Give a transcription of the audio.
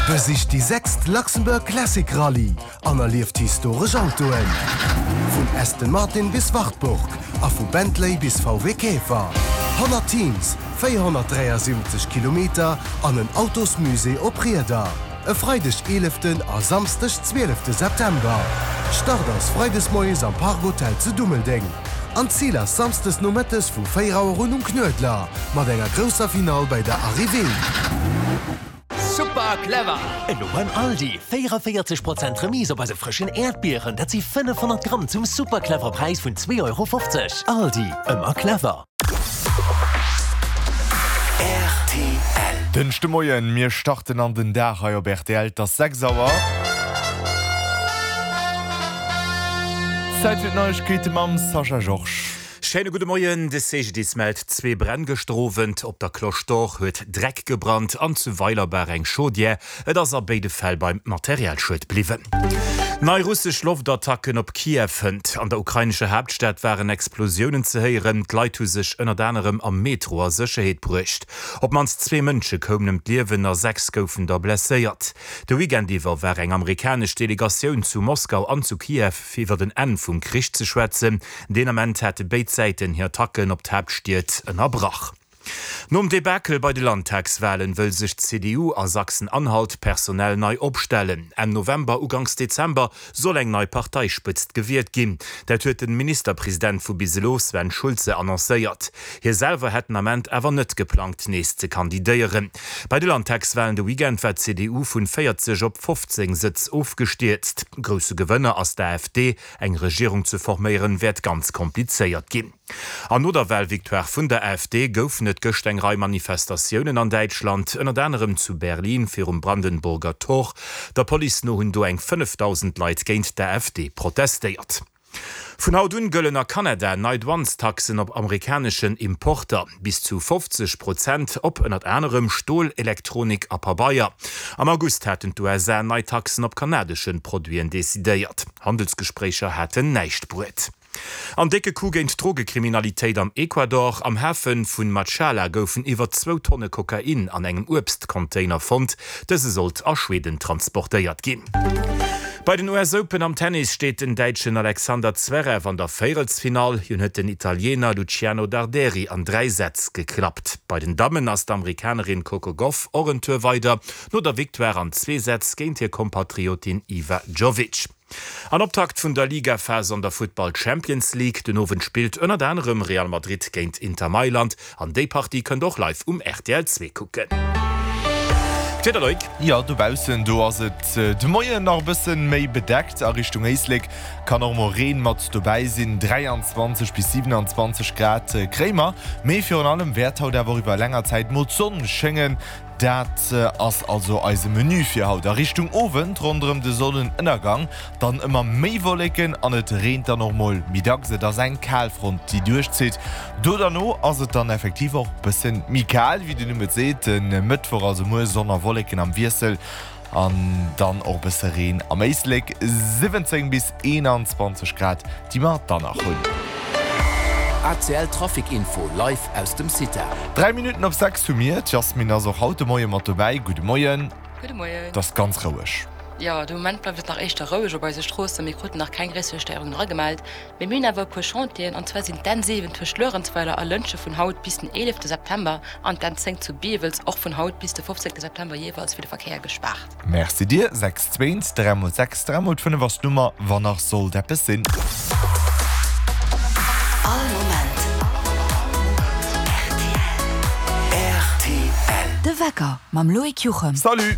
Besicht déi sechst Luxembourg Classic Rallye an erlieft historesch Autoen. Vun Aston Martin bis Wartburg a vu Bentley bis VW Käfer. 100 Teams, 473 Kilometer an en Autosmusée op Rieder. E Freideg 11 a Samsdeg 12 September. Start ass Freides moies am Park Hotel zu Dummeldeng an d'Zil ass Samsdes nomëttes vu 4 Auer un um Knuedler mat enger grousser Finall bei der Arrivée. Super clever! Elo beim Aldi, 44 Prozent Remise op eise frëschen Äerdbieren, dat si 500 Gramm zum super clever Präis vun 2,50 Euro. Aldi, ëmmer clever! Rtl. Dënschde Moien, mir starten an den Dag hei op rtl, et ass 6 Auer. Zäit fir d'Neiegkeete mam Sascha Georges. Schéine gudde Moien. De CGDIS mellt zwee Bränn gëschter Owend. Op der Cloche d'Or huet Dreck gebrannt an zu Weilerbaach eng Chaudière. Et ass a béide Fäll beim Materialschued bliwwen. Nei russesch Loftattacken op Kiew hënt. An der ukrainescher Haaptstad waren Explosiounen ze héieren. D'Leit hu sech ënnert anerem am Metro a Sécherheet bruecht. Op d'mannst zwee Mënsche koumen ëm d'Liewen a 6 goufen der blesséiert. De Weekend iwwer war eng amerikanesch Delegatioun zu Moskau an zu Kiew, fir iwwer en Enn vum Krich ze schwätzen. Deen Ament hate béid Säiten hir Attacken op d'Haaptstied ënnerbrach. Nom Debakel bei de Landtagswalen wëll sech d'CDU a Sachsen-Anhalt personell nei opstellen. Enn November, Uganks Dezember soll eng nei Parteispëtzt gewielt ginn. Dat huet de Ministerpresident vu bis elo, Sven Schulze, annoncéiert. Hie selwer hätt den Ament awer net geplangt, nees ze kandidéieren. Bei de Landtagswalen de Weekend war d'CDU vun 40 op 15 Sëtz ofgestierzt. Grousse Gewënner ass d'AfD. Eng Regierung ze forméieren wäert ganz komplizéiert ginn. An no der Walvictoire vun der AfD goufen et gëscht eng Rei Manifestatiounen an Däitschland, ënnert anerem zu Berlin virum Brandenburger Tor. Der Police no hunn do eng 5.000 Leit géint d'AfD protestéiert. Vun haut un gëllen a Kanada nei Douanestaxen op amerikaneschen Importer, bis zu 50 Prozent op ënnert anerem Stol, Elektronik a Pabeier. Am August haten d'USA nei Taxen op kanadeschen Produiten decidéiert. Handelsgespréicher haten näischt bruet. An décke Coup géint d'Drogekriminalitéit am Ecuador, Am Hafe vun Machala goufen iwwer zwou Tonne Kokain an engem Uebstcontainer fonnt. Dëse sollt a Schweden transportéiert ginn. Bei den US Open am Tennis steet den Däitschen Alexander Zverev an der Véierelsfinall. Hien huet den Italiener Luciano Darderi an 3 Sätz geklappt. Bei den Dammen ass d'Amerikanerin Coco Gauff och en Tour weider, no der Victoire an zwee Sätz géint hir Kompatriotin Iva Jovic. An Optakt vun der Ligaphas an der Futtball Champions League. Den Owend spillt ënnert anerem Real Madrid géint Inter Mailand an déi Partie kënnt och live um rtl 2 kucken. D'Wieder, Loïc? Jo, dobaussen do ass et de Moien nach e bësse méi bedeckt. A Richtung Éislek kann och mol Reen mat dobäi sinn. 23 bis 27 Grad kréie mer, mee virun allem wäert haut awer och iwwer länger Zäit mol d'Sonn schéngen. Dat ass also eise Menü fir haut. A Richtung Owend, ronderëm de Sonnenënnergang, dann ëmmer méi Wolleken an et reent dann och mol méi dacks. Et ass eng Kalfront, déi duerchzitt. Do derno ass et dann effektiv och bësse méi kal, wéi de Numm et seet. De Mëttwoch, also muer, Sonn a Wolleken am Wiessel an dann och bësse Reen am Éislek. 17 bis 21 Grad, déi mer dann nach hunn. ACL Trafic Info live aus dem CITA. 3 Minutten op 6 hu mir. D'Jasmine ass och haut de Moie mat dobäi. Gudde Moien. Gudde Moien. Et ass ganz roueg. Jo, de Moment bleift et nach éischter roueg op eise Stroossen. Mir kruten nach keng gréisser Stéierungen eragemellt. Mee mir hunn awer e puer Chantieren, an zwar sinn d'N 7 tëscht Luerenzweiler a Lëntge vun haut bis den 11 September an d'N 10 zu Biewels och vun haut bis de 15 September jeeweils fir de Verkéier gespaart. Merci dir. 6 2 3 mol 6 3 mol 5 ass d'Nummer, wann nach sollt eppes sinn. All Moment rtl. De Wecker mam Loïc Juchem. Salut!